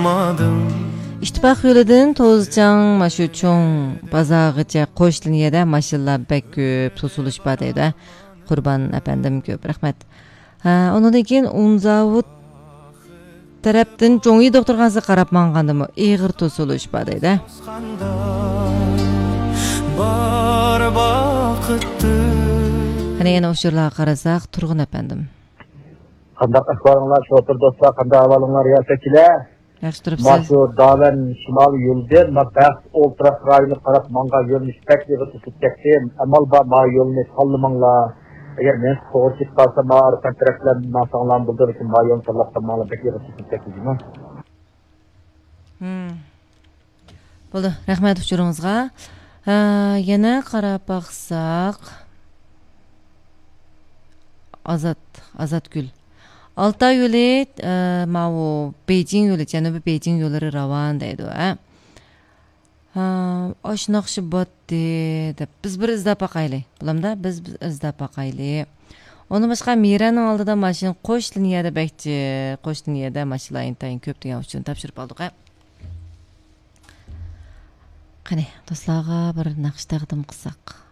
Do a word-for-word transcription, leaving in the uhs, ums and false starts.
ئىتتىپاق يولىدىن توزچاڭ ماشۇ چوڭ بازارغىچە قوش لىنىيەدە ماشىنىلار بەك كۆپ توسۇلۇش بار دەيدۇ. قۇربان ئەپەندىم، كۆپ رەھمەت. ھە، ئۇنىڭدىن كېيىن ئۇنزاۋۇت تەرەپتىن جۇڭيى دوختۇرخانىسىغا قاراپ ماڭغاندىمۇ ئېغىر توسۇلۇش بار دەيدۇ. بار ۋاقىتتا. قېنى يەنە ئۇچۇرلارغا قارىساق، تۇرغۇن ئەپەندىم. قانداق ئەھۋالىڭلار، شوپۇر دوستلار؟ قانداق ئەھۋالىڭلار، رىياسەتچىلەر؟ ياخشى تۇرۇپسىز. ماشۇ داۋەن شىمالىي يولىدىن ما بەخت ئولتۇراق رايونىغا قاراپ ماڭغان يۆنىلىش بەك ئېغىر توسۇلۇپ كەتتى. ئەمما بار، ما يولنى تاللىماڭلار. ئەگەر مېنىڭ توغرا كېتىپ قالسا، ما ئارقان تەرەپلەر ماڭساڭلارمۇ بولىدۇ، لېكىن ما يولنى تاللاپ قالماڭلار، بەك ئېغىر توسۇلۇپ كەتتى جۇمۇ. ھىم. بولدى، رەھمەت ئۇچۇرىڭىزغا. ھە، يەنە قاراپ باقساق، ئازات، ئازاتگۈل. ئالتاي يولى، ئە، ماۋۇ بېيجىڭ يولى، جەنۇبىي بېيجىڭ يوللىرى راۋان دەيدۇ، ھە. ھە، ئاشۇنداق ئىش باتتى دەپ، بىز بىر ئىزدەپ باقايلى. بولامدا، بىز، بىز ئىزدەپ باقايلى. ئۇندىن باشقا، مىرەنىڭ ئالدىدا ماشىنا قوش لىنىيەدە بەكچى، قوش لىنىيەدە ماشىنىلار ئىنتايىن كۆپ دېگەن ئۇچۇرنى تاپشۇرۇپ ئالدۇق، ھە. قېنى، دوستلارغا بىر ناخشا تەقدىم قىلساق.